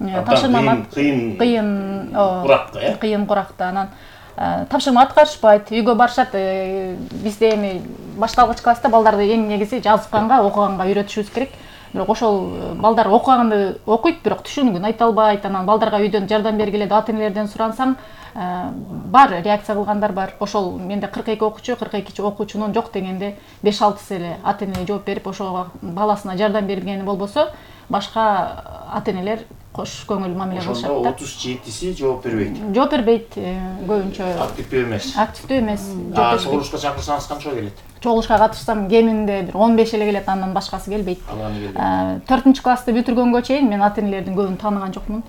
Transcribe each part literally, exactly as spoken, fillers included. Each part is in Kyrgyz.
тапшырма кыйын кыйын куракка, э? Кыйын куракта анан тапшырма аткарышпайт, үйгө барышат. Бизде эми башталгыч класста балдарды эң негизи жазганга, окуганга үйрөтүшүбүз керек. Бирок ошол балдар окуганды окуйт, бирок түшүнүгүн айта албайт. Анан балдарга үйдөн жардам бергиле деп ата-энелерден сурансаң, бар реакция кылгандар бар. Ошол менде кырк эки окуучу, кырк эки окуучунун жок дегенде беш алтысы эле ата-эне жооп берип, ошого баласына жардам бергени болбосо, башка ата-энелер кош көңүл мамиле кылышат да. Ошондо отуз жетиси жооп бербейт. Жооп бербейт, көбүнчө активдүү эмес. Активдүү эмес. А чогулушка чакырсаңыз канча келет? Чогулушка катышсам кеминде бир он беш эле келет, андан башкасы келбейт. төртүнчү классты бүтүргөнгө чейин мен ата-энелердин көбүн тааныган жокмун.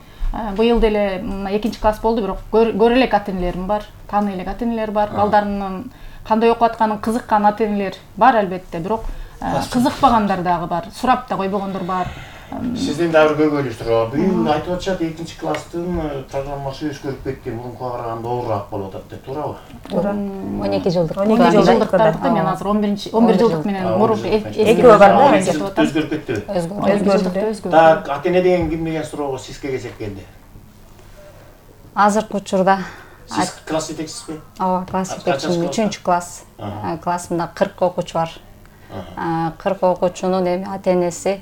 Быйыл деле экинчи класс болду, бирок көрө элек ата-энелерим бар, тааный элек ата-энелер бар. Балдарынын кандай окуп атканын кызыккан ата-энелер бар албетте, бирок кызыкпагандар дагы бар, сурап да койбогондор бар. Сиздин дагы бир көйгөйлүү суроо. Быйыл айтып атышат экинчи класстын программасы өзгөрүп кетти, мурункуга караганда оорураак болуп атат деп, туурабы? Туура. он эки жылдык. он эки жылдыктарды мен азыр он бир жылдык менен мурунку экөө бар да, өзгөрүп кеттиби? Өзгөрдү. Так, ата-эне деген ким деген суроого сизге кезек келди. Азыркы учурда Сиз класс жетекчисизби? Ооба, класс жетекчимин, үчүнчү класс. Классымда кырк окуучу бар. кырк окуучунун эми ата-энеси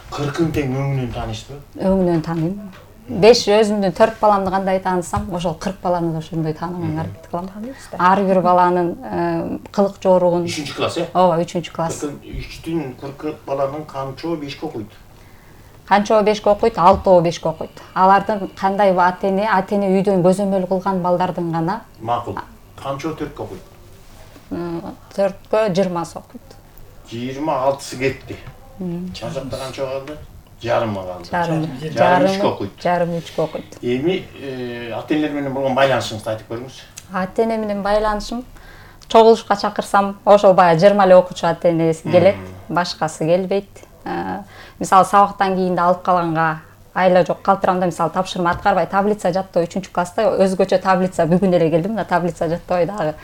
кыркын тең өңүнөн таанышпы? Өңүнөн тааныйм. беш өзүмдүн төрт баламды кандай таанысам, ошол кырк баланы да ошондой тааныганга аракет кылам. Ар бир баланын кылык жоругун. үчүнчү класс, э? Ооба, үчүнчү класс. үчтүн кырк баланын канчоо бешке окуйт? Канчоо бешке окуйт, алтоо бешке окуйт. Алардын кандай ата-эне, ата-эне үйдөн көзөмөл кылган балдардын гана. Макул. Канчоо төрткө окуйт? төрткө жыйырмасы окуйт. жыйырма алтысы кетти. Чажакта канча калды? Жарымы калды. Жарым. Жарым үчкө окуйт. Жарым үчкө окуйт. Эми ата-энелер менен болгон байланышыңызды айтып бериңиз. Ата-эне менен байланышым чогулушка чакырсам, ошол баягы жыйырма эле окуучу ата-энеси келет, башкасы келбейт. Мисалы сабактан кийин да алып калганга айла жок, калтырамда мисалы тапшырма аткарбай таблица жаттоо үчүнчү класста өзгөчө таблица бүгүн эле келдим да, таблица жаттабай дагы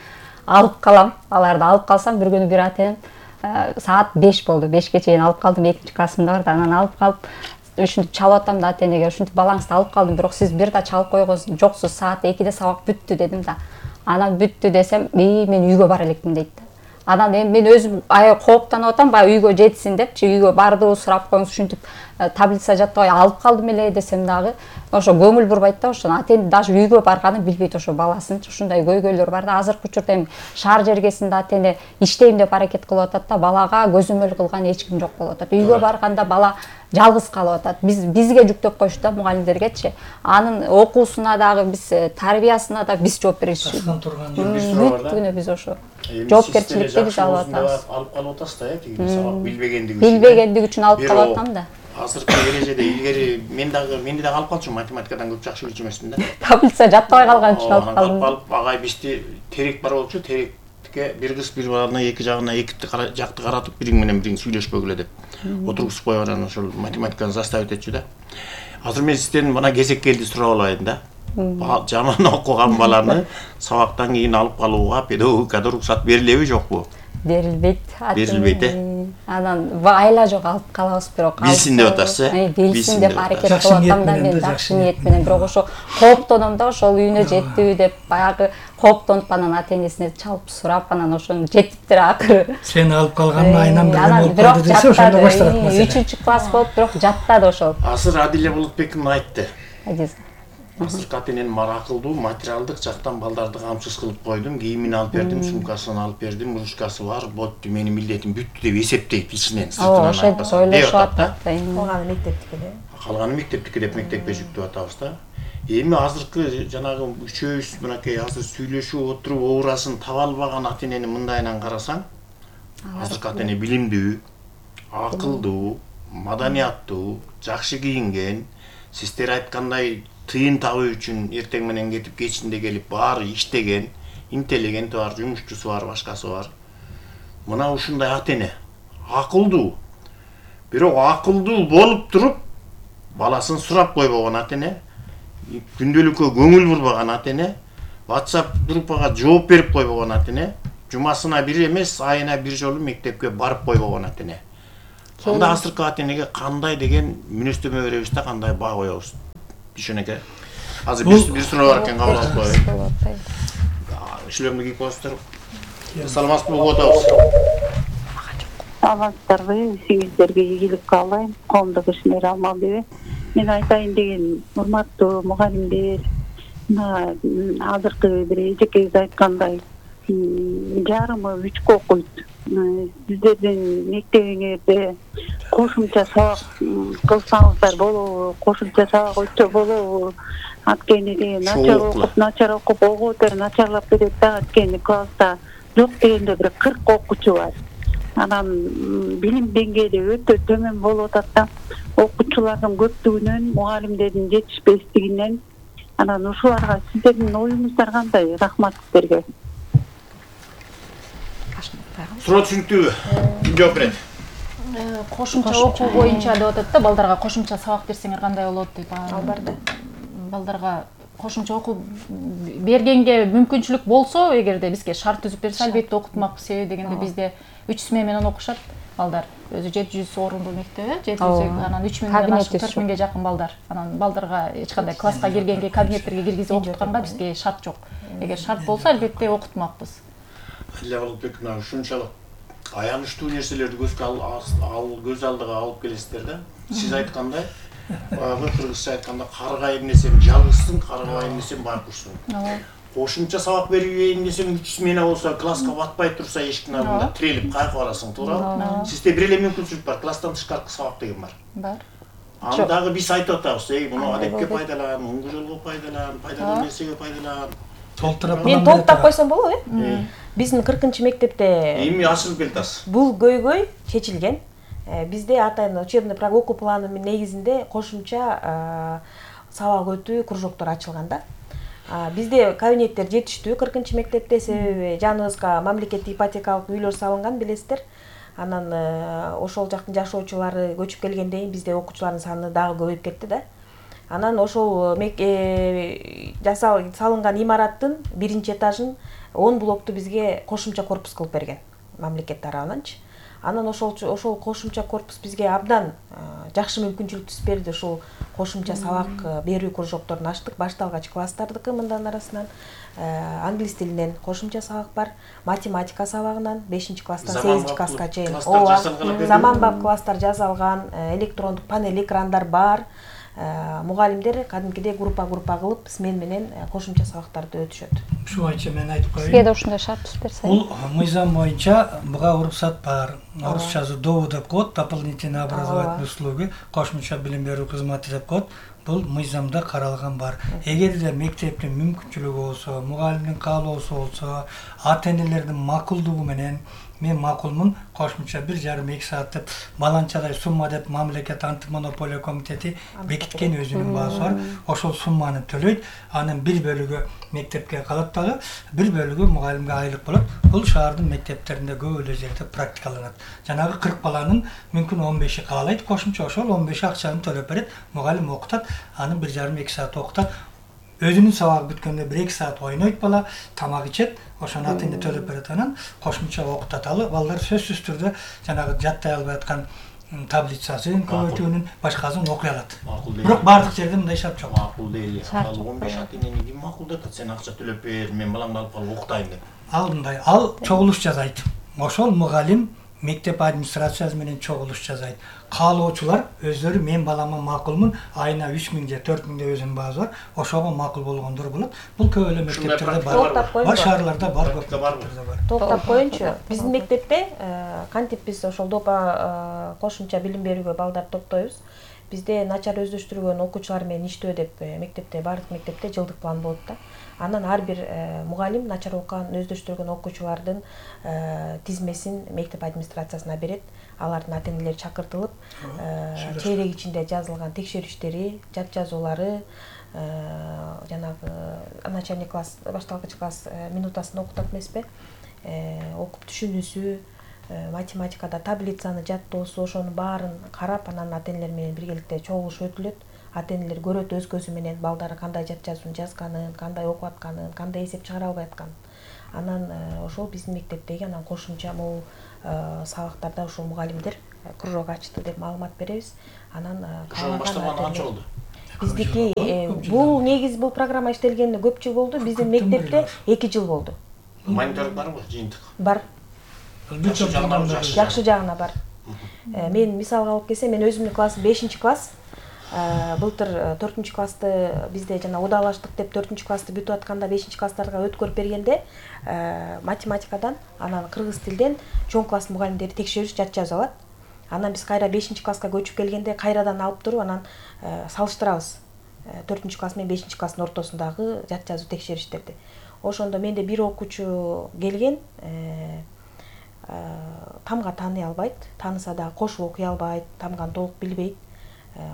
алып калам. Аларды алып калсам бир күнү бир ата-энем саат беш болду, бешке чейин алып калдым, экинчи классымда бар да, анан алып калып ушинтип чалып атам да ата-энеге, ушинтип балаңызды алып калдым, бирок сиз бир да чалып койгонсуз, жоксуз, саат экиде сабак бүттү дедим да. Анан бүттү десем, "Эй, мен үйгө бара элекмин" дейт да. Анан эми мен өзүм аябай кооптонуп атам, баягы үйгө жетсин депчи, үйгө барды, сурап коюңуз, ушинтип таблица жаттабай алып калдым эле десем дагы, ошо көңүл бурбайт да, ошо ата-эне даже үйгө барганын билбейт, ошо баласын. Ушундай көйгөйлөр бар да. Азыркы учурда эми шаар жергесинде ата-эне иштейм деп аракет кылып атат да, балага көзөмөл кылган эч ким жок болуп атат. Үйгө барганда бала жалгыз калып атат. Биз бизге жүктөп коюшту да, мугалимдергечи. Анын окуусуна дагы биз, тарбиясына да биз жооп беришибиз. Ташкан турган бүткүнү биз ошо жоопкерчиликти биз алып атабыз. Алып калып атасыз да, тиги сабак билбегендиги үчүн. Билбегендиги үчүн алып калып атам да. Азыркы эрежеде илгери мен дагы менди дагы алып калчумун, математикадан көп жакшы билчү эмесмин да. Таблица жаттабай калган үчүн алып калдым. Алып агай бизди терек бар болчу, терекке бир кыз бир баланы эки жагына эки жакты каратып бириң менен бириң сүйлөшпөгүлө деп отургузуп коюп анан ошол математиканы заставить этчү да. Азыр мен сизден мына кезек келди сурап алайын да. Жаман окуган баланы сабактан кийин алып калууга педагогикада уруксат берилеби жокпу? Берилбейт. Берилбейт, э? Анан айла жок, алып калабыз, бирок билсин деп атасыз, э? Билсин деп аракет кылып атам да мен, жакшы ниет менен, бирок ошо кооптоном да, ошол үйүнө жеттиби деп баягы кооптонуп анан ата-энесине чалып сурап, анан ошону жетиптир акыры. Сени алып калганын айынан бир анан бирок десе ошондо башталат маселе. үчүнчү класс болуп, бирок жаттады ошол. Азыр Адиле Болотбекова айтты. Адиз. Азыркы ата-эненин акылдуу, материалдык жактан балдарды камсыз кылып койдум, кийимин алып бердим, сумкасын алып бердим, ручкасы бар, ботту, менин милдетим бүттү деп эсептейт ичинен, сыртынан айтпаса. Ойлошуп атат. Калганы мектептики эле. Калганы мектептики деп мектепке жүктөп атабыз да. Эми азыркы жанагы үчөөбүз мынакей азыр сүйлөшүп отуруп оорасын таба албаган ата-энени мындайынан карасаң, азыркы ата-эне билимдүү, акылдуу, маданияттуу, жакшы кийинген, сиздер айткандай тыйын табуу үчүн эртең менен кетип кечинде келип баары иштеген, интеллигенти бар, жумушчусу бар, башкасы бар. Мына ушундай ата-эне акылдуу. Бирок акылдуу болуп туруп баласын сурап койбогон ата-эне, күндөлүккө көңүл бурбаган ата-эне, WhatsApp группага жооп берип койбогон ата-эне, жумасына бир эмес, айына бир жолу мектепке барып койбогон ата-эне. Анда азыркы ата-энеге кандай деген мүнөздөмө беребиз да, кандай баа коебуз? Дүйшөнөкө. Азыр бир бир суроо бар экен, кабыл алып коеюн. Шлемди кийип коесуздар. Саламатсызбы, угуп атабыз. Саламатсыздарбы, сиңиздерге ийгилик каалайм. Коомдук ишмер Алмалбеби. Мен айтайын деген урматтуу мугалимдер, мына азыркы бир эжекеңиз айткандай жарымы үчкө окуйт. Сиздердин мектебиңерде кошумча сабак кылсаңыздар болобу, кошумча сабак өтсө болобу? Анткени деген начар окуп, начар окуп, ого өтөр начарлап кетет да, анткени класста жок дегенде бир кырк окуучу бар. Анан билим деңгээли өтө төмөн болуп атат да. Окуучулардын көптүгүнөн, мугалимдердин жетишпестигинен. Анан ушуларга сиздердин оюңуздар кандай? Рахмат сиздерге. Суроо түшүнүктүүбү? Ким жооп берет? Кошумча окуу боюнча деп атат да, балдарга кошумча сабак берсеңер кандай болот деп. Албарда. Балдарга кошумча окуу бергенге мүмкүнчүлүк болсо, эгерде бизге шарт түзүп берсе, албетте окутмакпыз. Себеби дегенде бизде үч смена менен окушат балдар. Өзү жети жүз орундуу мектеп, жети жүз, анан үч миңден ашык төрт миңге жакын балдар. Анан балдарга эч кандай класска киргенге, кабинеттерге киргизип окутканга бизге шарт жок. Эгер шарт болсо, албетте окутмакпыз. Эле Болотбек, мына ушунчалык аянычтуу нерселерди көзгө ал көз алдыга алып келесиздер да. Сиз айткандай, баягы кыргызча айтканда каргай эмнесем жалгызсың, каргабай эмнесем байкушсуң. Кошумча сабак берейин десең үч смена болсо, класска батпай турса эшиктин алдында тирелип кайгы барасың, туурабы? Сизде бир эле мүмкүнчүлүк бар, класстан тышкаркы сабак деген бар. Бар. Аны дагы биз айтып атабыз, эй, муну адепке пайдалан, оңгу жолго пайдалан, пайдалуу нерсеге пайдалан. Толтура Мен толуктап койсом болобу, э? Биздин кыркынчы мектепте эми ашырып келатасыз. Бул көйгөй чечилген. Бизде атайын учебный программа окуу планы негизинде кошумча сабак өтүү кружоктор ачылган да. Бизде кабинеттер жетиштүү кыркынчы мектепте, себеби жаныбызга мамлекеттик ипотекалык үйлөр салынган, билесиздер. Анан ошол жактын жашоочулары көчүп келгенден кийин бизде окуучулардын саны дагы көбөйүп кетти да. Анан ошол жасал салынган имараттын биринчи этажын он блокту бизге кошумча корпус кылып берген мамлекет тарабынанчы. Анан ошол ошол кошумча корпус бизге абдан жакшы мүмкүнчүлүк түзүп берди. Ушул кошумча сабак берүү кружокторун ачтык, башталгач класстардыкы мындан арасынан англис тилинен кошумча сабак бар, математика сабагынан бешинчи класстан сегизинчи класска чейин. Ооба, заманбап класстар жасалган, электрондук панель экрандар бар. Мугалимдер кадимкидей группа-группа кылып смен менен кошумча сабактарды өтүшөт. Ушу боюнча мен айтып коеюн. Сизге да ушундай шарт түзүп берсе. Бул мыйзам боюнча буга уруксат бар. Орусчасы ДОУ деп коет, дополнительные образовательные услуги, кошумча билим берүү кызматы деп коет. Бул мыйзамда каралган бар. Эгерде мектептин мүмкүнчүлүгү болсо, мугалимдин каалоосу болсо, ата-энелердин макулдугу менен мен макулмун, кошумча бир жарым эки саат деп баланчадай сумма деп мамлекет антимонополия комитети бекиткен өзүнүн баасы бар. Ошол сумманы төлөйт, анын бир бөлүгү мектепке калат дагы, бир бөлүгү мугалимге айлык болот. Бул шаардын мектептеринде көп эле жерде практикаланат. Жанагы кырк баланын мүмкүн он беши каалайт кошумча, ошол он беши акчаны төлөп берет, мугалим окутат, аны бир жарым эки саат окутат. Өзүнүн сабагы бүткөндө бир эки саат ойнойт бала, тамак ичет, ошону ата-эне төлөп берет, анан кошумча окутат. Ал балдар сөзсүз түрдө жанагы жаттай албай аткан таблицасын, көбөйтүүнүн башкасын окуй алат. Бирок бардык жерде мындай шарт жок. Макул дейли. Ал он беш ата-энени ким макулдап атат? Сен акча төлөп бер, мен баламды алып калып окутайын деп. Ал мындай, ал чогулуш жасайт. Ошол мугалим мектеп администрациясы менен чогулуш жасайт. Каалоочулар өздөрү мен балама макулмун, айына үч миң же төрт миңде өзүнүн баасы бар, ошого макул болгондор болот. Бул көп эле мектептерде бар. Бар шаарларда бар, мектептерде бар. Токтоп коеюнчу. Биздин мектепте кантип биз ошол допа кошумча билим берүүгө балдар топтойбуз. Бизде начар өздөштүргөн окуучулар менен иштөө деп мектепте, бардык мектепте жылдык план болот да. Анан ар бир мугалим начар окуган, өздөштүргөн окуучулардын тизмесин мектеп администрациясына берет. Алардын ата-энелери чакыртылып, чейрек ичинде жазылган текшерүүштери, жат жазуулары, жанагы начальный класс, башталгыч класс минутасын окутат эмеспи? Окуп түшүнүүсү, математикада таблицаны жаттоосу, ошонун баарын карап, анан ата-энелер менен биргеликте чогулуш өтүлөт. Ата-энелер көрөт өз көзү менен балдары кандай жат жазуун жазганын, кандай окуп атканын, кандай эсеп чыгара албай атканын. Анан ошол биздин мектептеги анан кошумча могу сабактарда ушул мугалимдер кружок ачты деп маалымат беребиз. Анан ошону баштаганы канча болду? биздики бул негизи бул программа иштелгенине көп жыл болду. Биздин мектепте эки жыл болду. Мониторинг барбы, жыйынтык? Бар. Жакшы жагына бар. Жакшы жагына бар. Мен мисалга алып келсем, мен өзүмдүн классым бешинчи класс. Былтыр төртүнчү классты бизде жана удалаштык деп төртүнчү классты бүтүп атканда бешинчи класстарга өткөрүп бергенде математикадан, анан кыргыз тилден чоң класс мугалимдери текшериш жат жазып алат. Анан биз кайра бешинчи класска көчүп келгенде кайрадан алып туруп анан салыштырабыз. төртүнчү класс менен бешинчи класстын ортосундагы жат жазуу текшериштерди. Ошондо менде бир окуучу келген, тамга тааный албайт, тааныса дагы кошуп окуй албайт, тамганы толук билбейт,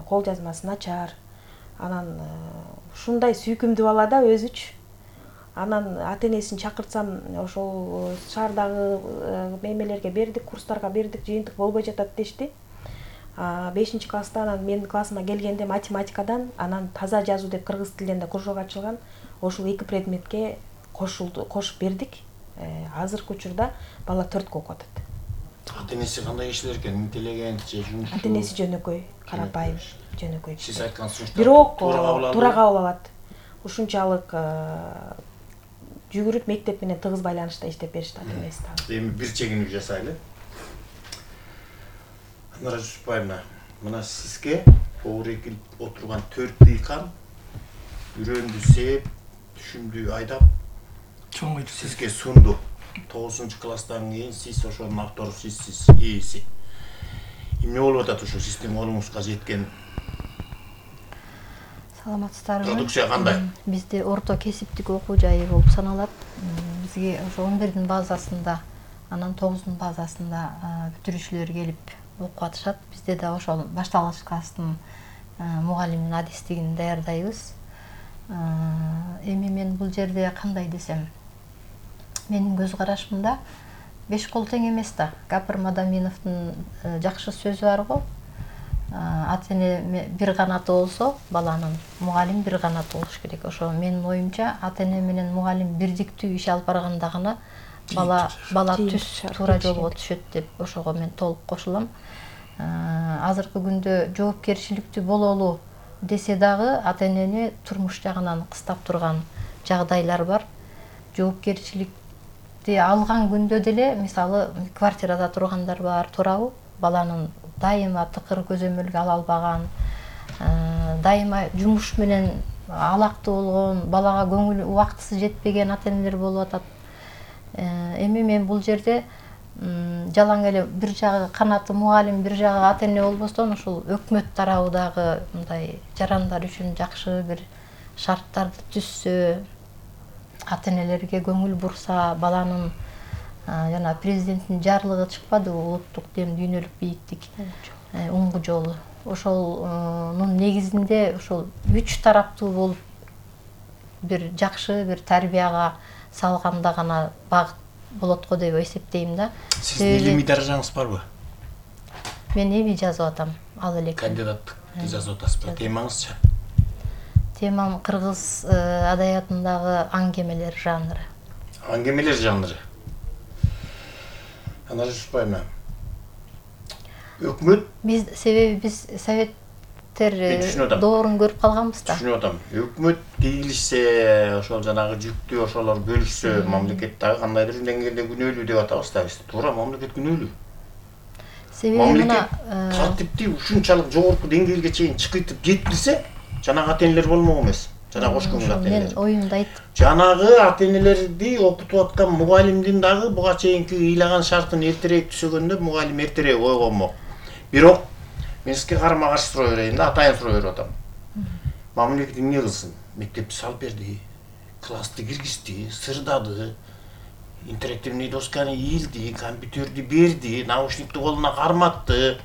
кол жазмасы начар. Анан ушундай сүйкүмдүү бала да өзүчү. Анан ата-энесин чакыртсам, ошол шаардагы мемелерге бердик, курстарга бердик, жыйынтык болбой жатат дешти. бешинчи класста анан менин классыма келгенде математикадан, анан таза жазуу деп кыргыз тилинен да кружок ачылган. Ошол эки предметке кошулду, кошуп бердик. Азыркы учурда бала төрткө окуп атат. Ата-энеси кандай кишилер экен? Интеллигент же жумушчу? Ата-энеси жөнөкөй, карапайым, жөнөкөй. Сиз айткан сунуштар бирок туура кабыл алат. Ушунчалык жүгүрүп мектеп менен тыгыз байланышта иштеп беришти ата-энеси дагы. Эми бир чегинип жасайлы. Анара Жусупбаевна, мына сизге оор экилип отурган төрт дыйкан үрөндү сээп, түшүмдү айдап, чоң айтып сизге сунду. тогузунчу класстан кийин сиз ошонун автору сизсиз, ээси. Эмне болуп атат ошо сиздин колуңузга жеткен? Саламатсыздарбы? Продукция кандай? Бизде орто кесиптик окуу жайы болуп саналат. Бизге ошо он бирдин базасында, анан тогуздун базасында бүтүрүүчүлөр келип окуп атышат. Бизде да ошол башталгыч класстын мугалимдин адистигин даярдайбыз. Эми мен бул жерде кандай десем, менин көз карашымда беш кол тең эмес да. Гапыр Мадаминовдун жакшы сөзү бар го. Ата-эне бир канаты болсо, баланын мугалим бир канаты болуш керек. Ошо менин оюмча, ата-эне менен мугалим бирдиктүү иш алып барганда гана бала бала түз туура жолго түшөт деп ошого мен толук кошулам. Азыркы күндө жоопкерчиликтүү бололу десе дагы ата-энени турмуш жагынан кыстап турган жагдайлар бар. Жоопкерчиликти алган күндө деле, мисалы, квартирада тургандар бар, туурабы? Баланын дайыма тыкыр көзөмөлгө ала албаган, дайыма жумуш менен алактуу болгон, балага көңүл убактысы жетпеген ата-энелер болуп атат. Эми мен бул жерде жалаң эле бир жагы канаты мугалим, бир жагы ата-эне болбостон, ушул өкмөт тарабыдагы мындай жарандар үчүн жакшы бир шарттарды түзсө, ата-энелерге көңүл бурса, баланын жана президенттин жарлыгы чыкпады, улуттук дем дүйнөлүк бийиктик уңгу жолу. Ошолнун негизинде ошол үч тараптуу болуп бир жакшы бир тарбияга салганда гана багыт болот го деп эсептейм да. Сиздин илимий даражаңыз барбы? Мен эми жазып атам, ал элек. Кандидаттыкты жазып атасызбы? Темаңызчы? Темам кыргыз адабиятындагы аңгемелер жанры. Аңгемелер жанры. Анара Жусупбаевна, өкмөт биз себеби биз советтер доорун көрүп калганбыз да. Түшүнүп атам. Өкмөт тийгилишсе, ошол жанагы жүктү ошолор бөлүшсө, мамлекет дагы кандайдыр деңгээлде күнөөлүү деп атабыз да биз. Туура, мамлекет күнөөлүү. Себеби мына тартипти ушунчалык жогорку деңгээлге чейин чыкытып жеткирсе, жанагы ата-энелер болмок эмес. Жанагы кош көңүл ата-энелер. Мен оюмду айттым. Жанагы ата-энелерди окутуп аткан мугалимдин дагы буга чейинки ыйлаган шартын эртерээк түзөгөндө мугалим эртерээк ойгонмок. Бирок мен сизге карама-каршы суроо берейин да, атайын суроо берип атам. Мамлекет эмне кылсын? Мектепти салып берди, классты киргизди, сырдады, интерактивный досканы ийилди, компьютерди берди, наушникти колуна карматты,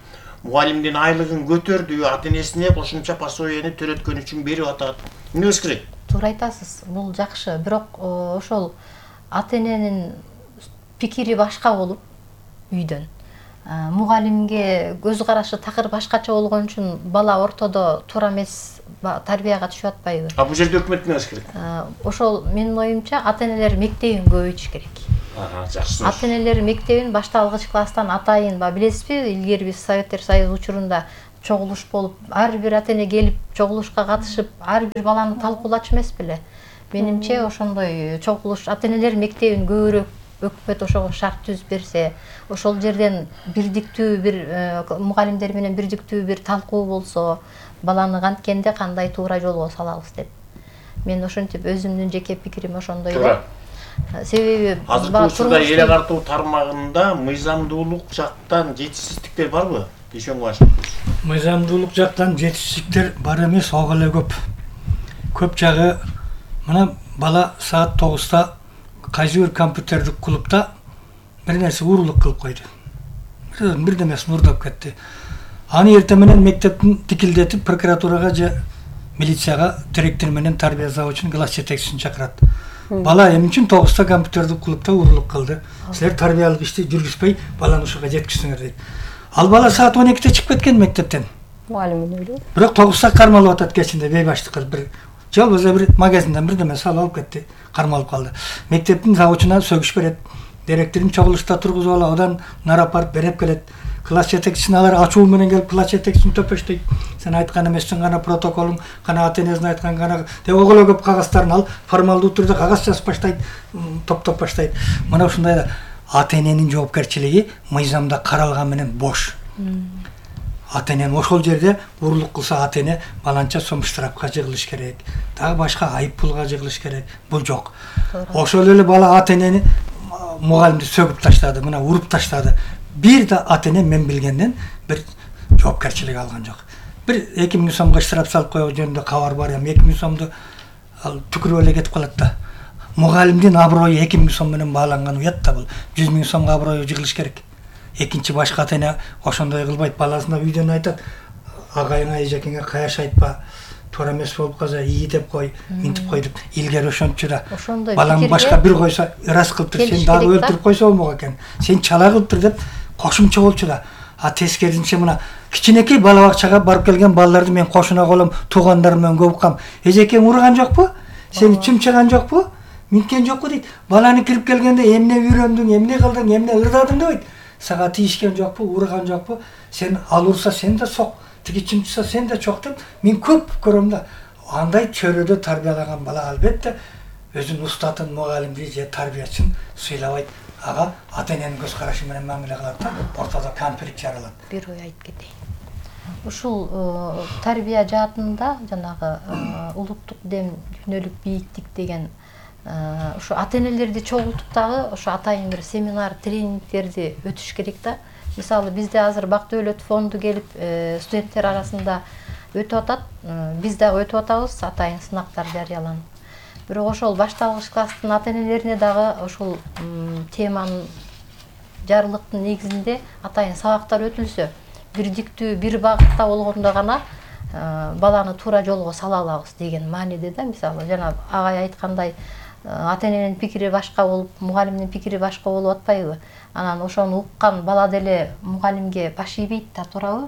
мугалимдин айлыгын көтөрдү, ата-энесине кошумча пособияны төрөткөн үчүн берип атат. Эмне кылыш керек? Туура айтасыз, бул жакшы, бирок ошол ата-эненин пикири башка болуп үйдөн. Мугалимге көз карашы такыр башкача болгон үчүн бала ортодо туура эмес тарбияга түшүп атпайбы? А бул жерде өкмөт эмне кылыш керек? Ошол менин оюмча ата-энелер мектебин көбөйтүш керек. Ага, жакшы. Ата-энелер мектебин башталгыч класстан атайын, ба билесизби, илгери биз Советтер Союзу учурунда чогулуш болуп, ар бир ата эне келип чогулушка катышып, ар бир баланы талкуулачу эмес беле. Менимче ошондой чогулуш ата энелер мектебин көбүрөөк өкмөт ошого шарт түзүп берсе, ошол жерден бирдиктүү бир мугалимдер менен бирдиктүү бир талкуу болсо, баланы канткенде кандай туура жолго салабыз деп. Мен ошентип өзүмдүн жеке пикирим ошондой да. Себеби азыркы учурда эл агартуу тармагында мыйзамдуулук жактан жетишсиздиктер барбы? Ишенге башкы. Мыйзамдуулук жактан жетишсиздиктер бар эмес, ого эле көп. Көп жагы мына бала саат тогузда кайсы бир компьютердик клубда бир нерсе уурулук кылып койду. Бирдемесин уурдап кетти. Аны эртең менен мектептин тикилдетип прокуратурага же милицияга директор менен тарбия завучунун класс жетекчисин чакырат. Бала эмне үчүн тогузда компьютердик клубда уурулук кылды? Силер тарбиялык ишти жүргүзбөй баланы ушуга жеткиздиңер дейт. Ал бала саат он экиде чыгып кеткен мектептен. Мугалим эле. Бирок тогузда кармалып атат кечинде бейбаштык кылып бир же болбосо бир магазинден бирдеме салып алып кетти, кармалып калды. Мектептин завучуна сөгүш берет. Директорун чогулушта тургузуп алып, одан нарап барып берип келет. Класс жетекчисин алар ачуу менен келип класс жетекчисин төпөштөйт. Сен айткан эмессиң, гана протоколуң, гана ата энесин айткан, гана деп оголо көп кагаздарын алып, формалдуу түрдө кагаз жазып баштайт, топтоп баштайт. Мына ушундай да ата эненин жоопкерчилиги мыйзамда каралган менен бош. Ата энен ошол жерде уурулук кылса ата эне баланча сом штрафка жыгылыш керек, дагы башка айып пулга жыгылыш керек. Бул жок. Ошол эле бала ата энени мугалимди сөгүп таштады, мына уруп таштады. Бир да ата эне мен билгенден бир жоопкерчилик алган жок. Бир эки миң сомго штраф салып коюу жөнүндө кабар бар эми, эки миң сомду ал түкүрүп эле кетип калат да. Мугалимдин аброю эки миң сом менен бааланган уят да бул. жүз миң сомго аброю жыгылыш керек. Экинчи башка ата эне ошондой кылбайт, баласына үйдөн айтат, агайыңа эжекеңе каяш айтпа, туура эмес болуп калса ии деп кой, минтип кой деп. Илгери ошончу да. Балам башка бир койсо ырас кылып тур, сен дагы өлтүрүп койсо болмок экен. Сен чала кылып тур деп кошумча болчу да. А тескерисинче мына кичинекей бала бакчага барып келген балдарды мен кошуна колом, туугандарым менен көп уккам. Эжекең урган жокпу? Сени чымчыган жокпу? Минткен жокпу дейт. Баланы кирип келгенде эмне үйрөндүң, эмне кылдың, эмне ырдадың дейт. Сага тийишкен жокпу, урган жокпу? Сен ал урса сен да сок, тиги чымчыса сен да чок деп мен көп көрөм да. Андай чөйрөдө тарбиялаган бала албетте өзүнүн устатын, мугалимди же тарбиячысын сыйлабайт. Ага ата эненин көз карашы менен мамиле кылат да, ортодо конфликт жаралат. Бир ой айтып кетейин. Ушул тарбия жаатында жанагы улуттук дем, дүйнөлүк бийиктик деген ушу ата энелерди чогултуп дагы ошо атайын бир семинар, тренингтерди өтүш керек да. Мисалы бизде азыр Бак Дөөлөт фонду келип студенттер арасында өтүп атат. Биз дагы өтүп атабыз, атайын сынактар жарыяланып. Бирок ошол башталгыч класстын ата энелерине дагы ошол теманын жарылыктын негизинде атайын сабактар өтүлсө, бирдиктүү бир багытта болгондо гана баланы туура жолго сала алабыз деген мааниде да. Мисалы жана агай айткандай ата эненин пикири башка болуп, мугалимдин пикири башка болуп атпайбы? Анан ошону уккан бала деле мугалимге баш ийбейт да, туурабы?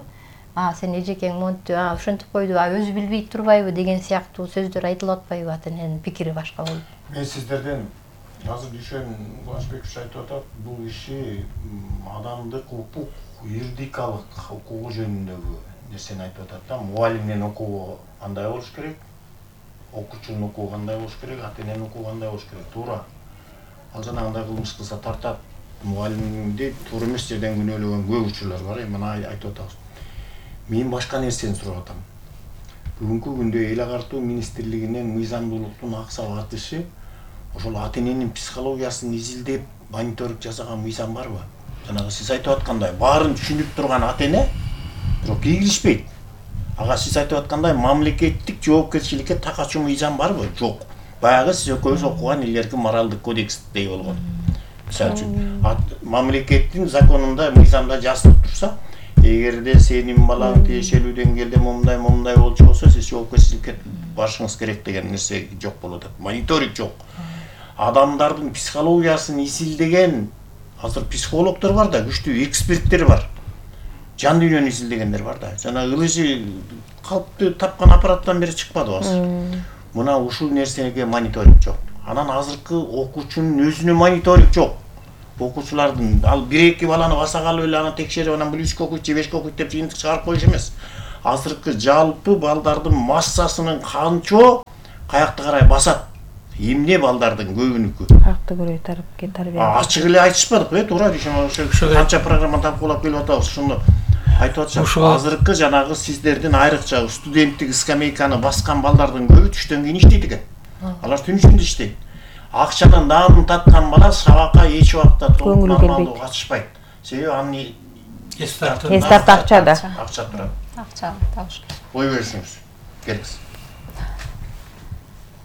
А сен эжекең монтип, а ошентип койду, а өзү билбей турбайбы деген сыяктуу сөздөр айтылып атпайбы ата эненин пикири башка болуп? Мен сиздерден азыр Дүйшөн Кубанычбекович айтып атат, бул иши адамдык укук, юридикалык укугу жөнүндөгү нерсени айтып атат да. Мугалимдин укугу кандай болуш керек? Окуучунун укугу кандай болуш керек? Ата эненин укугу кандай болуш керек? Туура. Ал жанагындай кылмыш кылса тартат. Мугалимди туура эмес жерден күнөөлөгөн көп учурлар бар, мына айтып атабыз. Мен башка нерсени сурап атам. Бүгүнкү күндө эл агартуу министрлигинен мыйзамдуулуктун аксап атышы ошол ата эненин психологиясын изилдеп мониторинг жасаган мыйзам барбы? Жанагы сиз айтып аткандай баарын түшүнүп турган ата эне бирок киргизишпейт. Ага сиз айтып аткандай мамлекеттик жоопкерчиликке такачуу мыйзам барбы? Жок. Баягы сиз экөөбүз окуган илгерки моралдык кодекстей болгон. Мисалы үчүн мамлекеттин законунда, мыйзамда жазылып турса, эгерде сенин балаң тиешелүү деңгээлде момундай момундай болчу болсо, сиз жоопкерчиликке барышыңыз керек деген нерсе жок болуп атат. Мониторинг жок. Адамдардын психологиясын изилдеген азыр психологдор бар да, күчтүү эксперттер бар. Жан дүйнөнү изилдегендер бар да. Жана ылыжы калпты тапкан аппараттан бери чыкпады азыр. Мына ушул нерсеге мониторинг жок. Анан азыркы окуучунун өзүнө мониторинг жок. Окуучулардын ал бир эки баланы баса калып эле аны текшерип, анан бул үчкө окуйт же бешке окуйт деп жыйынтык чыгарып коюш эмес. азыркы жалпы балдардын массасынын канчо каякты карай басат. Эмне балдардын көбүнүкү? Каякты көрөй тарбия. Ачык эле айтышпадык бе, туура дешем, ошо канча программа талкуулап келип атабыз, ушуну айтып атышат. Азыркы жанагы сиздердин айрыкча студенттик скамейканы баскан балдардын көбү түштөн кийин иштейт экен. Алар түн ичинде иштейт. Акчанын наанын таткан бала сабакка эч убакта толук нормалдуу катышпайт. Себеби анын эстарт акчада. Акча турат. Акча табыш керек. Ой берсеңиз. Керекс.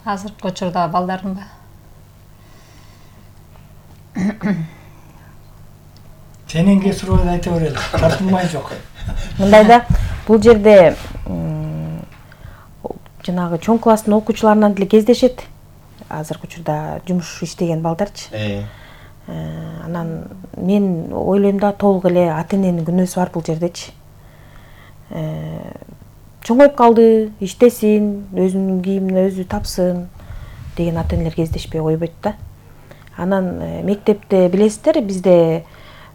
Азыркы учурда балдардын Сенин суроо айта берели. Тартынмай жок. Мындайда бул жерде жанагы чоң класстын окуучуларынан деле кездешет. Азыркы учурда жумуш иштеген балдарчы. Анан мен ойлойм да толук эле ата-эненин күнөөсү бар бул жердечи. Чоңоюп калды, иштесин, өзүнүн кийимин өзү тапсын деген ата-энелер кездешпей койбойт да. Анан мектепте билесиздер, бизде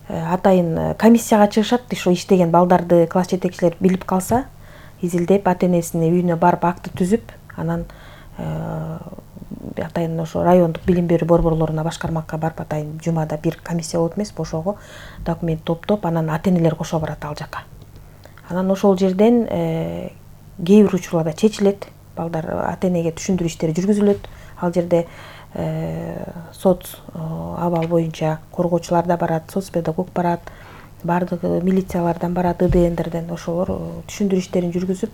атайын комиссияга чыгышат, ошо иштеген балдарды класс жетекчилери билип калса, изилдеп ата-энесине үйүнө барып акты түзүп, анан атайын ошо райондук билим берүү борборлоруна, башкармакка барып атайын жумада бир комиссия болот эмес, ошого документ топтоп, анан ата-энелер кошо барат ал жака. Анан ошол жерден кээ бир учурларда чечилет, балдар ата-энеге түшүндүрүү иштери жүргүзүлөт. Ал жерде соц абал боюнча коргоочулар да барат, соц педагог барат, бардыгы милициялардан барат, ИДНдерден, ошолор түшүндүрүү иштерин жүргүзүп,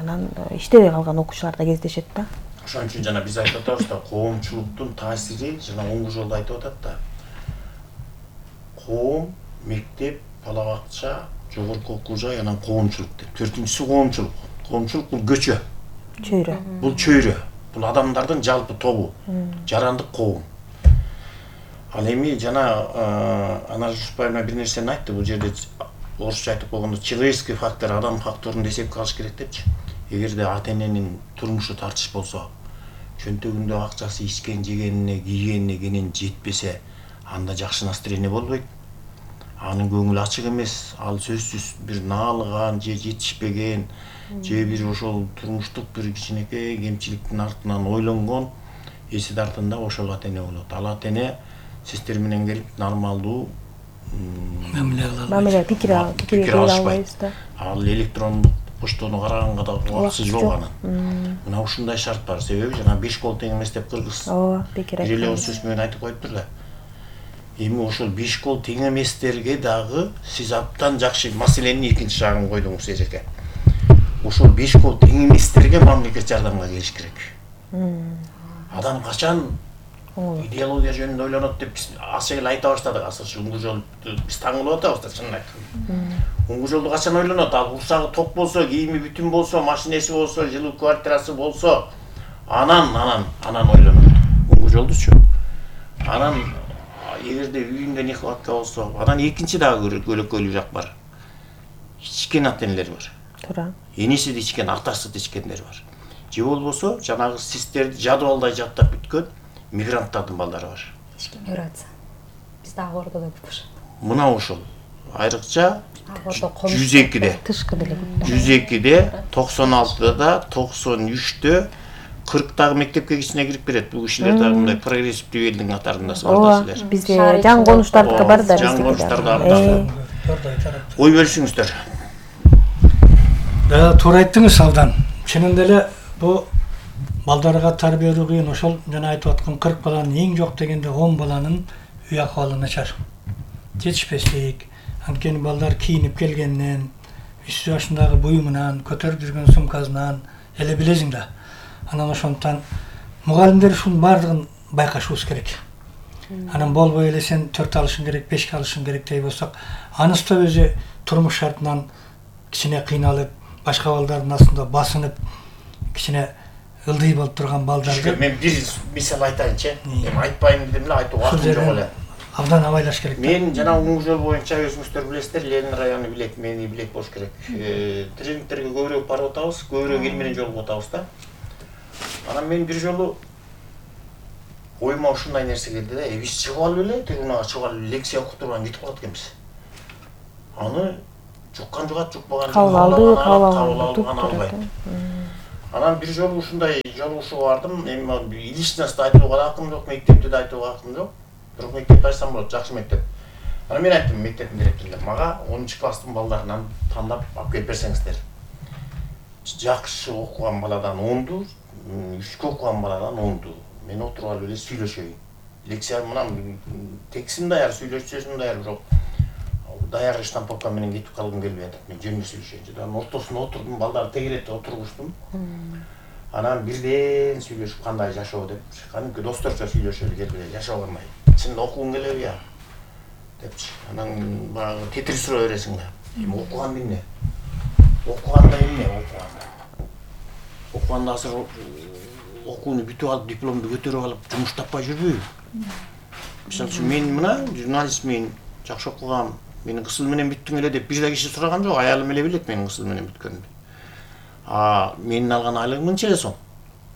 анан иштебей калган окуучулар да кездешет да. Ошон үчүн жана биз айтып атабыз да, коомчулуктун таасири жана оңгу жолду айтып атат да. Коом, мектеп, бала бакча, жогорку окуу жай, анан коомчулук деп. Төртүнчүсү коомчулук. Коомчулук бул көчө. Чөйрө. Бул чөйрө. Бул адамдардын жалпы тобу. Жарандык коом. Ал эми жана Анар Жусупбаевна бир нерсени айтты. Бул жерде орусча айтып койгондо человеческий фактор, адам факторун эсепке алыш керек депчи. Эгерде ата-эненин турмушу тартыш болсо, чөнтөгүндө акчасы ичкен, жегенине, кийгенине кенен жетпесе, анда жакшы настроение болбойт. Анын көңүлү ачык эмес, ал сөзсүз бир наалыган же жетишпеген, же бир ошол турмуштук бир кичинекей кемчиликтин артынан ойлонгон эси тартында ошол ата-эне болот. Ал ата-эне сиздер менен келип нормалдуу мамиле пикир пикир албайбыз да. Ал электрондук поштону караганга да убакыты жок анын. Мына ушундай шарт бар. Себеби жана беш кол тең эмес деп кыргыз ооба пикир бир эле сөз менен айтып коюптур да. Эми ошол беш кол тең эместерге дагы сиз абдан жакшы маселенин экинчи жагын койдуңуз эжеке. Ошол беш кол тең эместерге мамлекет жардамга келиш керек. Адам качан идеология жөнүндө ойлонот деп биз аса эле айта баштадык. Азыр оңгу жолду биз таңылып атабыз да, чынын айтканда. Оңгу жолду качан ойлонот? Ал урсагы ток болсо, кийими бүтүн болсо, машинеси болсо, жылуу квартирасы болсо, анан анан анан ойлонот. Оңгу жолдучу. Анан эгерде үйүндө нехватка болсо, анан экинчи дагы көлөкөлүү жак бар. Ичкен ата-энелер бар. Туура. Энеси да ичкен, атасы да ичкендер бар. Же болбосо, жанагы сиздерди жадыбалдай жаттап бүткөн мигранттардын балдары бар. Ички миграция. Биз дагы ордо да көп бар. Мына ошол айрыкча жүз экиде, тышкы деле көп. жүз экиде, токсон алтыда, токсон үчтө кырктагы мектепке кичине кирип берет. Бул кишилер дагы мындай прогрессивдүү элдин катарында сабакташылар. Бизде жаңы конуштардыкы бар да, жаңы конуштарда бар. Ой бөлүшүңүздөр. Да, туура айттыңыз Абдан. Чынында эле бу балдарга тарбиялоо кыйын. Ошол жана айтып аткан кырк баланын эң жок дегенде он баланын үй акыбалы начар. Жетишпештик. Анткени балдар кийинип келгенден, үч жашындагы буюмунан, көтөрүп жүргөн сумкасынан эле билесиң да. Анан ошондуктан мугалимдер ушунун баардыгын байкашыбыз керек. Анан болбой эле сен төрт алышың керек, бешке алышың керек дей болсок, анысы да өзү турмуш шартынан кичине кыйналып, башка балдардын астында басынып, кичине ылдый болуп турган балдарды. Мен бир мисал айтайынчы. Эми айтпайм дедим эле, айтууга акым жок эле. Абдан абайлаш керек. Мен жана оңгу жол боюнча өзүңүздөр билесиздер, Ленин району билет, мени билет болуш керек. Тренингтерге көбүрөөк барып атабыз, көбүрөөк эл менен жолугуп атабыз да. Анан мен бир жолу оюма ушундай нерсе келди да, биз чыгып алып эле, трибунага чыгып алып лекция окуп турган кетип калат экенбиз. Аны жуккан жугат, жукпаган кабыл алды, кабыл алды, албайт. Анан бир жолу ушундай жолугушууга бардым. Эми личностьты айтууга да акым жок, мектепти да айтууга акым жок. Бирок мектепти айтсам болот, жакшы мектеп. Анан мен айттым мектептин директоруна, мага онунчу класстын балдарынан тандап алып келип берсеңиздер. Жакшы окуган баладан онду, үчкө окуган баладан онду. Мен отуруп алып эле сүйлөшөйүн. Лекция мынам текстим даяр, сүйлөшүүсүм даяр, бирок даяр штамповка менен кетип калгым келбей атат. Мен жөнүндө сүйлөшөйүнчү. Анан ортосуна отурдум, балдар тегеретип отургуштум. Анан бирден сүйлөшүп кандай жашоо деп, кадимки досторчо сүйлөшөлү келип жашоо кандай. Чын окугуң келеби я? Депчи. Анан баягы тетир суроо бересиң да. Эми окуган эмне? Окуганда эмне окуганда? Окуганда азыр окууну бүтүп алып, дипломду көтөрүп алып, жумуш таппай жүрбөйбү? Мисалы үчүн мен мына журналистмин, жакшы окугам, менин кыз менен бүттүң эле деп бир да киши сураган жок, аялым эле билет менин кыз менен бүткөнүмдү. А менин алган айлыгым мынча эле сом.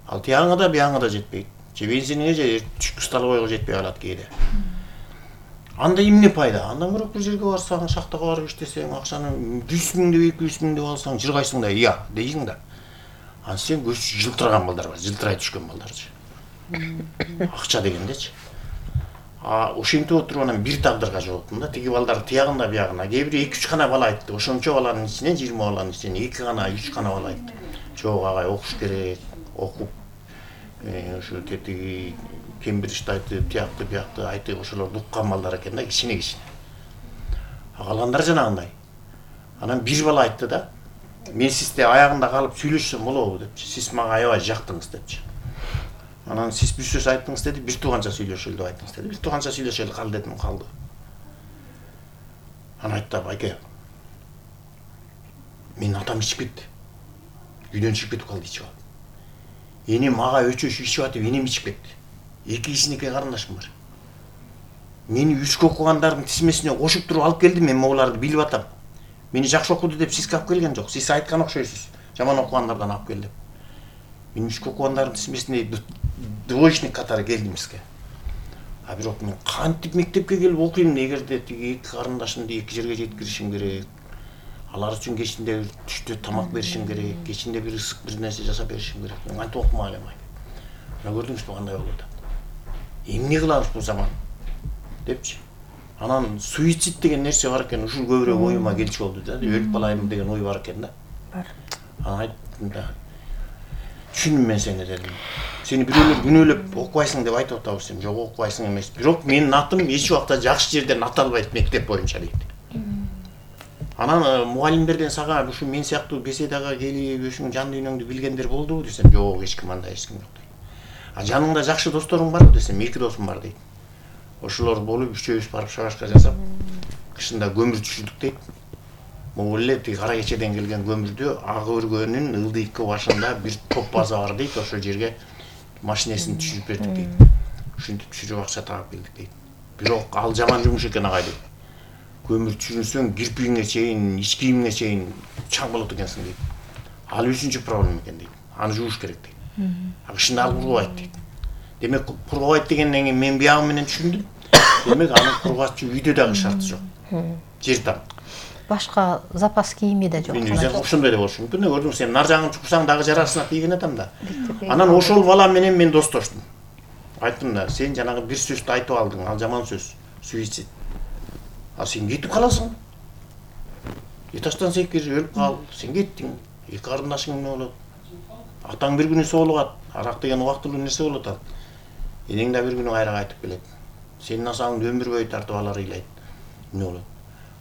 Ал тияңа да, бияңа да жетпейт. Же бензиниңе же түшкү столовойго жетпей калат кээде. Анда эмне пайда? Андан көрөк бир жерге барсаң, шахтага барып иштесең, акчаны жүз миң деп, эки жүз миң деп алсаң, жыргайсың да, "Я" дейсиң да. Анан сен көз жылтыраган балдар бар, жылтырай түшкөн балдарчы. Акча дегендечи. А ошентип отуруп анан бир тагдырга жооптум да. Тиги балдар тиягында биягына. Кээ бир эки үч гана бала айтты. Ошончо баланын ичинен, жыйырма баланын ичинен эки гана, үч гана бала айтты. Жок агай, окуш керек, окуп ошо тетиги Кембриджди айтып, тиякты, биякты айтып, ошолорду уккан балдар экен да, кичине-кичине. А калгандары жанагындай. Анан бир бала айтты да, "Мен сизде аягында калып сүйлөшсөм болобу" депчи. "Сиз мага аябай жактыңыз" депчи. Анан "Сиз бир сөз айттыңыз" деди, "Бир тууганча сүйлөшөлү" деп айттыңыз деди. "Бир тууганча сүйлөшөлү кал" дедим, калды. Анан айтты, "Байке, менин атам ичип кетти. Үйдөн чыгып кетип калды ичип алып. Энем ага өчөшүп ичип атып, энем ичип кетти. Эки кичинекей карындашым бар. Мени үчкө окугандардын тизмесине кошуп туруп алып келди, мен могуларды билип атам. Мени жакшы окуду деп сизге алып келген жок. Сиз айткан окшойсуз. Жаман окугандардан алып кел деп. Мен үчкө окугандардын тизмесине двоечник катары келдим сизге. А бирок мен кантип мектепке келип окуйм, эгерде тиги эки карындашымды эки жерге жеткиришим керек. Алар үчүн кечинде түштө тамак беришим керек, кечинде бир ысык бир нерсе жасап беришим керек. Мен кантип окумай элем айт. Мына көрдүңүзбү кандай болуп атат. Эмне кылабыз бул заман? Депчи. Анан суицид деген нерсе бар экен, ушул көбүрөөк оюма келчү болду да. Өлүп калайын деген ой бар экен да. Бар. Анан айттым да. Түшүндүм мен сени дедим. Сени бирөөлөр күнөөлөп окубайсың деп айтып атабыз, сен жок окубайсың эмес. Бирок менин атым эч убакта жакшы жерден аталбайт мектеп боюнча дейт. Анан мугалимдерден сага ушу мен сыяктуу беседага келип, өзүңүн жан дүйнөңдү билгендер болдубу десем, жок, эч ким андай эч ким жок дейт. А жаныңда жакшы досторуң барбы десем, эки досум бар дейт. Ошолор болуп үчөөбүз барып шабашка жасап, кышында көмүр түшүрдүк дейт. Могул эле тиги кара кечеден келген көмүрдү ак өргөнүн ылдыйкы башында бир топ база бар дейт, ошол жерге машинесин түшүрүп бердик дейт. Ушинтип түшүрүп акча таап келдик дейт. Бирок ал жаман жумуш экен агай дейт. Көмүр түшүрсөң кирпигиңе чейин, ич кийимиңе чейин чаң болот экенсиң дейт. Ал үчүнчү проблема экен дейт. Аны жууш керек дейт. А кышында ал кургабайт дейт. Демек кургабайт дегенден кийин мен биягы менен түшүндүм. Демек аны кургатчу үйдө дагы шарты жок. Жер там. Башка запас кийими да жок. Мен ошондой эле болушу мүмкүн. Көрдүң, сен нар жагын чуксаң дагы жарасына тийген атам да. Анан ошол бала менен мен достоштум. Айттым да, сен жанагы бир сөздү айтып алдың, ал жаман сөз, суицид. А сен кетип каласың. Этаждан секир, өлүп кал, сен кеттиң. Эки карындашың эмне болот? Атаң бир күнү соолугат, арак деген убактылуу нерсе болуп атат. Энең да бир күнү кайра кайтып келет. Сенин асаңды өмүр бою тартып алар ыйлайт. Эмне болот?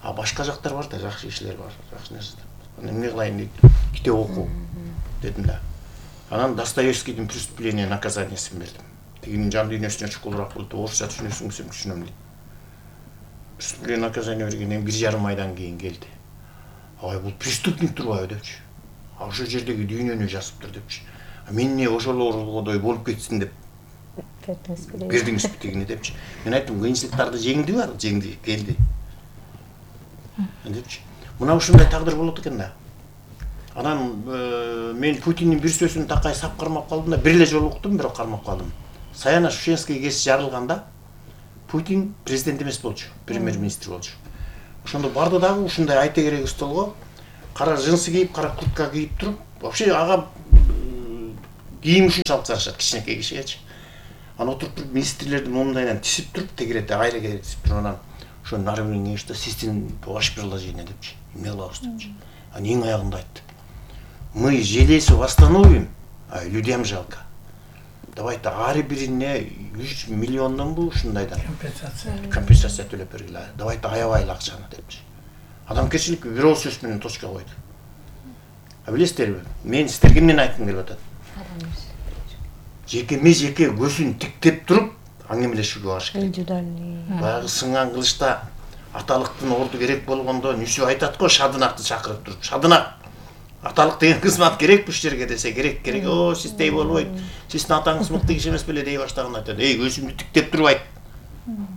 А башка жактар бар да, жакшы кишилер бар, жакшы нерселер. Анан эмне кылайын дейт? Китеп оку дедим да. Анан Достоевскийдин "Преступление и наказаниесин" бердим. Тигинин жан дүйнөсүнө чукулураак болуп, орусча түшүнөсүң десем түшүнөм дейт. "Преступление и наказание" бергенден бир жарым айдан кийин келди. Ай, бул преступник турбайбы депчи. А ошол жердеги дүйнөнү жазыптыр депчи. А мен эмне ошолордой болуп кетсин деп бердиңизби тигине депчи. Мен айттым, кыйынчылыктарды жеңдиби ал? Жеңди, келди. Депчи. Мына ушундай тагдыр болот экен да. Анан мен Путиндин бир сөзүн такай сап кармап калдым да, бир эле жолу уктум, бирок кармап калдым. Саяна-Шушенский кез жарылганда Путин президент эмес болчу, премьер-министр болчу. ошондо барды дагы ушундай айта керек столго кара джинсы кийип, кара куртка кийип туруп, вообще ага кийим үчүн салып тарашат кичинекей кишигечи. Анан отуруп туруп министрлердин мундайынан тисип туруп, тегерете айра керек тисип туруп, анан ошо нары бирин кеңеште систем ваше предложение депчи, эмне кылабыз депчи. Анан эң аягында айтты: мы железо восстановим, а людям жалко. Давайте ар бирине үч миллиондонбу ушундайдан компенсация компенсация төлөп бергиле. Давайте аябайлы акчаны депчи. Адамгерчилик бир ооз сөз менен точка койду. А билесиздерби, мен сиздерге эмнени айткым келип атат? Жекеме жеке көзүн тиктеп туруп аңгемелешүүгө барыш керек. Индивидуальный. Баягы сынган кылычта аталыктын орду керек болгондо Нүсү айтат го, Шадынакты чакырып туруп, Шадынак, аталык деген кызмат керек бул жерге десе, керек, керек. О, сиздей болбойт. Сиздин атаңыз мыкты киши эмес беле дей баштаганда айтат: "Эй, көзүмдү тиктеп туруп айт.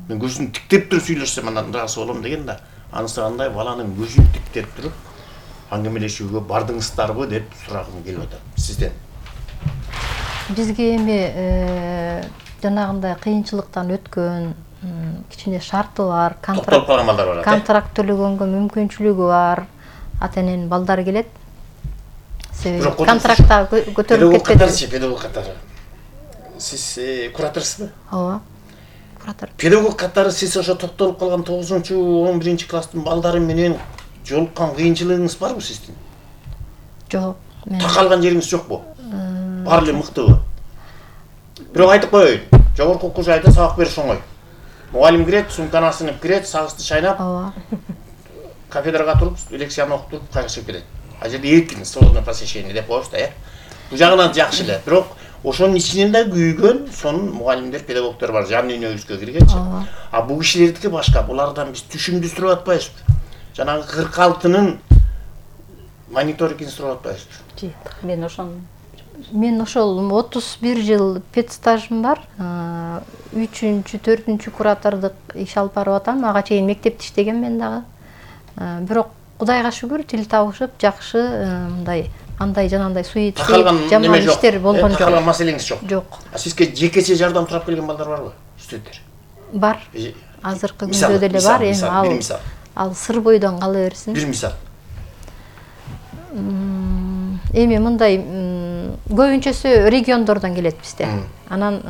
Мен көзүмдү тиктеп туруп сүйлөшсөм анан ыраазы болом" деген да. Анысы андай баланын көзүн тиктеп туруп аңгемелешүүгө бардыңыздарбы деп сурагым келип атат сизден. Бизге эми жанагындай кыйынчылыктан өткөн, кичине шарты бар, Токтолуп калган балдар бар. контракт төлөгөнгө мүмкүнчүлүгү бар ата эненин балдары келет. Себеби контрактта көтөрүлүп кетпеди. Педагог катары. Сиз кураторсузбу? Ооба. Куратор. Педагог катары сиз ошо токтолуп калган тогузунчу он биринчи класстын балдары менен жолуккан кыйынчылыгыңыз барбы сиздин? Жок. Такалган жериңиз жокпу? Баары эле мыктыбы? Бирок айтып коеюн, жогорку окуу жайда сабак бериш оңой. Мугалим кирет, сумканы асынып кирет, сагызды шайнап, Ооба. кафедрага туруп, лекцияны окуп туруп, кайра чыгып кетет. А жерде эркин, свободное посещение деп коебуз да, э. Бул жагынан жакшы эле. Бирок ошонун ичинен да күйгөн сонун мугалимдер, педагогдор бар, жан дүйнөбүзгө киргенчи. А бул кишилердики башка, булардан биз түшүмдү сурап атпайбызбы? Жанагы кырк алтынын мониторингин сурап атпайбызбы? Мен ошону Мен ошол отуз бир жыл педстажым бар. үчүнчү, төртүнчү куратордук иш алып барып атам. Ага чейин мектепте иштегем мен дагы. Бирок Кудайга шүгүр, тил табышып, жакшы мындай андай жанагындай суйетсиз, жаман иштер болгон жок. Такалган маселеңиз жок. Жок. А сизге жекече жардам сурап келген балдар барбы? Студенттер. Бар. Азыркы күндө деле бар. Эми ал ал сыр бойдон кала берсин. Бир мисал. Эми мындай көбүнчөсү региондордон келет бизде. Анан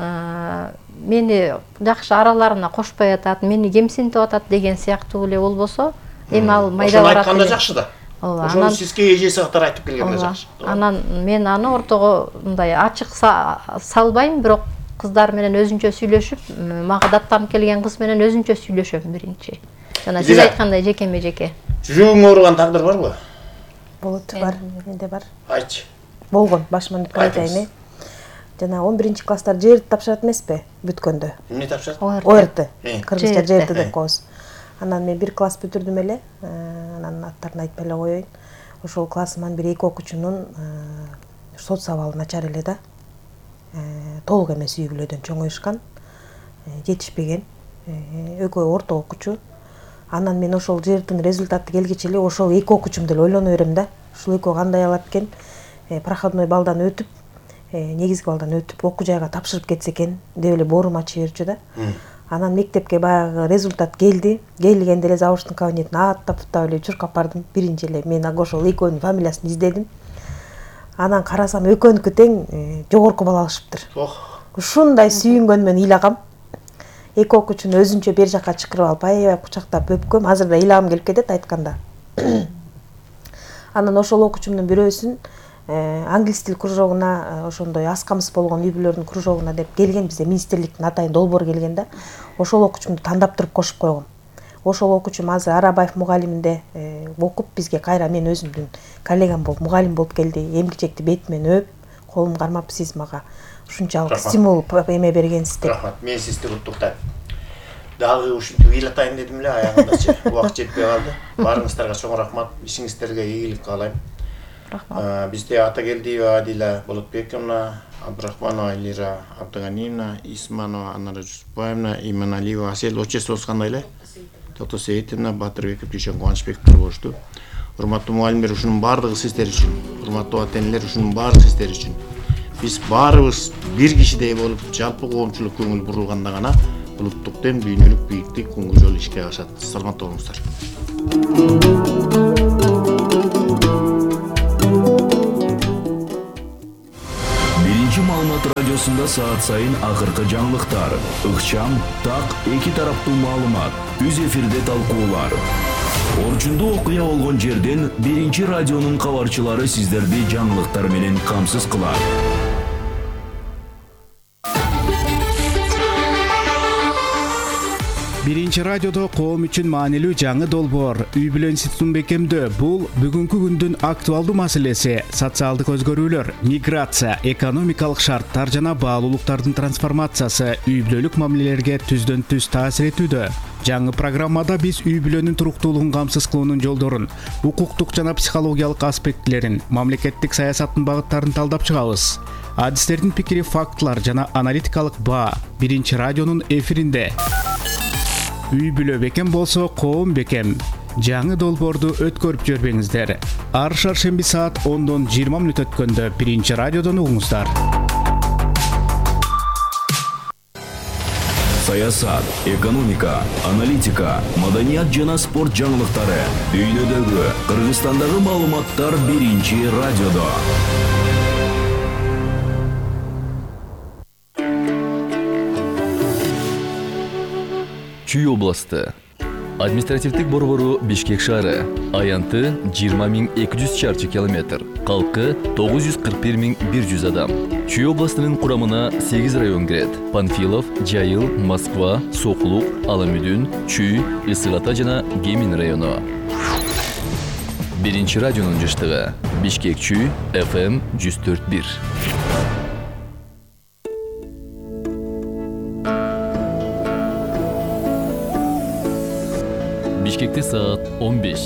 мени жакшы араларына кошпой атат, мени кемсинтип атат деген сыяктуу эле болбосо, эми ал майда барат. Ошону айтканда жакшы да. Ошону сизге эжеси катары айтып келгенде жакшы. Анан мен аны ортого мындай ачык салбайм, бирок кыздар менен өзүнчө сүйлөшүп, мага даттанып келген кыз менен өзүнчө сүйлөшөм биринчи. Жана сиз айткандай жекеме жеке. Жүрөгүң ооруган тагдыр барбы? Болот бар, менде бар. Айтчы. Болгон, башыман деп айтайын. Жана он биринчи класстар жерди тапшырат эмеспи бүткөндө? Эмне тапшырат? О Р Т. Кыргызча жерди деп коебуз. Анан мен бир класс бүтүрдүм эле. Анан аттарын айтпай эле коеюн. Ошол классыман бир эки окуучунун соц абалы начар эле да. Толук эмес үй бүлөдөн чоңоюшкан, жетишпеген, экөө орто окуучу. Анан мен ошол жердин результаты келгече эле ошол эки окуучум деле ойлоно берем да. Ушул экөө кандай алат экен? Проходной балдан өтүп, негизги балдан өтүп, окуу жайга тапшырып кетсе экен деп эле боорум ачып берчү да. Анан мектепке баягы результат келди. Келгенде эле завуштун кабинетине аттап футтап эле чуркап бардым. Биринчи эле мен ошол экөөнүн фамилиясын издедим. Анан карасам экөөнүкү тең жогорку балл алышыптыр. Ушундай сүйүнгөн мен ыйлагам. Эки окуучуну өзүнчө бер жакка чакырып алып, аябай кучактап өпкөм. Азыр да ыйлагым келип кетет айтканда. Анан ошол окуучумдун бирөөсүн англис тил кружогуна, ошондой аз камсыз болгон үй бүлөлөрдүн кружогуна деп келген, бизде министрликтин атайын долбоор келген да. Ошол окуучумду тандап туруп кошуп койгом. Ошол окуучум азыр Арабаев мугалиминде окуп, бизге кайра мен өзүмдүн коллегам болуп, мугалим болуп келди. Эмгичекти бетимен өп, колум кармап, сиз мага ушунчалык стимул эме бергенсиз деп. Рахмат, мен сизди куттуктайм. Дагы ушинтип ыйлатайын дедим эле, аягындачы убакыт жетпей калды. Баарыңыздарга чоң рахмат, ишиңиздерге ийгилик каалайм. Рахмат. Бизде Атагелдиева Адила Болотбековна, Абдрахманова Элира Абдыганиевна, Исманова Анара Жусупбаевна, Иманалиева Асель, отчествобуз кандай эле? Токтосейитовна, Батырбеков, Дүйшөн Кубанычбековдор болушту. Урматтуу мугалимдер, ушунун баардыгы сиздер үчүн, урматтуу ата энелер, ушунун баардыгы сиздер үчүн. Биз баарыбыз бир кишидей болуп, жалпы коомчулук көңүл бурулганда гана улуттук дем, дүйнөлүк бийиктик, күнгө жол ишке ашат. Саламатта болуңуздар. Биринчи маалымат радиосунда саат сайын акыркы жаңылыктар, ыкчам, так, эки тараптуу маалымат, түз эфирде талкуулар. Орчундуу окуя болгон жерден биринчи радионун кабарчылары сиздерди жаңылыктар менен камсыз кылат. Биринчи радиодо коом үчүн маанилүү жаңы долбоор үй бүлө институтун бекемдөө. Бул бүгүнкү күндүн актуалдуу маселеси. Социалдык өзгөрүүлөр, миграция, экономикалык шарттар жана баалуулуктардын трансформациясы үй бүлөлүк мамилелерге түздөн түз таасир этүүдө. Жаңы программада биз үй бүлөнүн туруктуулугун камсыз кылуунун жолдорун, укуктук жана психологиялык аспектилерин, мамлекеттик саясаттын багыттарын талдап чыгабыз. Адистердин пикири, фактылар жана аналитикалык баа биринчи радионун эфиринде. Үй бүлө бекем болсо, коом бекем. Жаңы долбоорду өткөрүп жөрбөңүздөр. Ар шаршемби саат ондон жыйырма мүнөт өткөндө биринчи радиодон угуңуздар. Саясат, экономика, аналитика, маданият жана спорт жаңылыктары. Дүйнөдөгү, Кыргызстандагы маалыматтар биринчи радиодо. Чүй областы. Административдик борбору Бишкек шаары. Аянты жыйырма миң эки жүз чарчы километр. Калкы тогуз жүз кырк бир миң бир жүз адам. Чүй областынын курамына сегиз район кирет. Панфилов, Жайыл, Москва, Соклук, Аламүдүн, Чүй, Ысык Ата жана Кемин району. Биринчи радионун жыштыгы. Бишкек Чүй, эф эм жүз төрт бир. Бишкекте саат он беш.